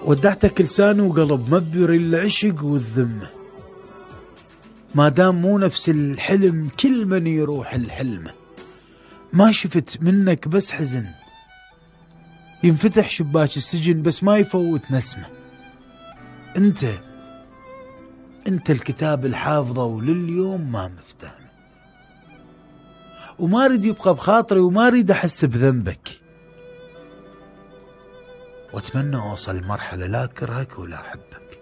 ودعتك لسان وقلب ما بيري العشق والذمة، ما دام مو نفس الحلم كل من يروح الحلمه. ما شفت منك بس حزن، ينفتح شباك السجن بس ما يفوت نسمه. انت الكتاب الحافظه ولليوم ما مفتهمه، وما اريد يبقى بخاطري وما اريد احس بذنبك، واتمنى اوصل مرحلة لا اكرهك ولا احبك.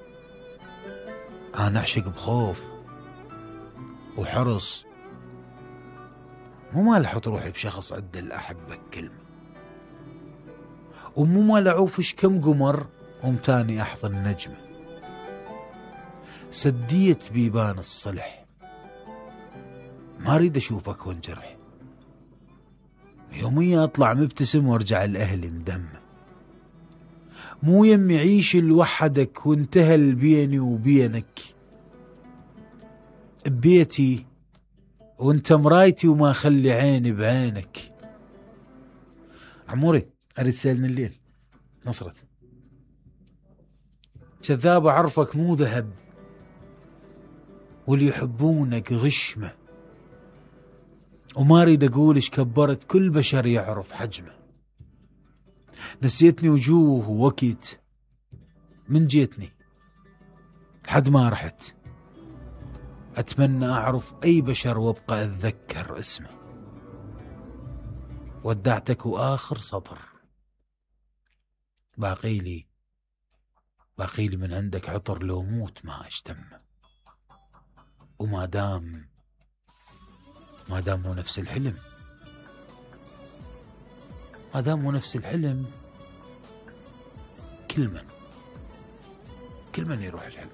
انا اعشق بخوف وحرص، مو مال احط روحي بشخص عدل احبك كلمة، ومو مال اعوفش كم قمر ومتاني احضن نجمة. سديت بيبان الصلح، ما اريد اشوفك وانجرح، يوميا اطلع مبتسم وارجع لاهلي مدمه. مو يمي عيش لوحدك وانتهى بيني وبينك، ببيتي وانت مرايتي وما اخلي عيني بعينك. عموري اريد تسألني الليل نصرت كذاب، اعرفك مو ذهب واللي يحبونك غشمه، وما اريد اقول ايش كبرت كل بشر يعرف حجمه. نسيتني وجوه ووقت من جيتني لحد ما رحت، اتمنى اعرف اي بشر وابقى اتذكر اسمه. ودعتك واخر سطر، باقيلي من عندك عطر لو موت ما اشتمه. وما دام مو نفس الحلم، كل من يروح الحلم.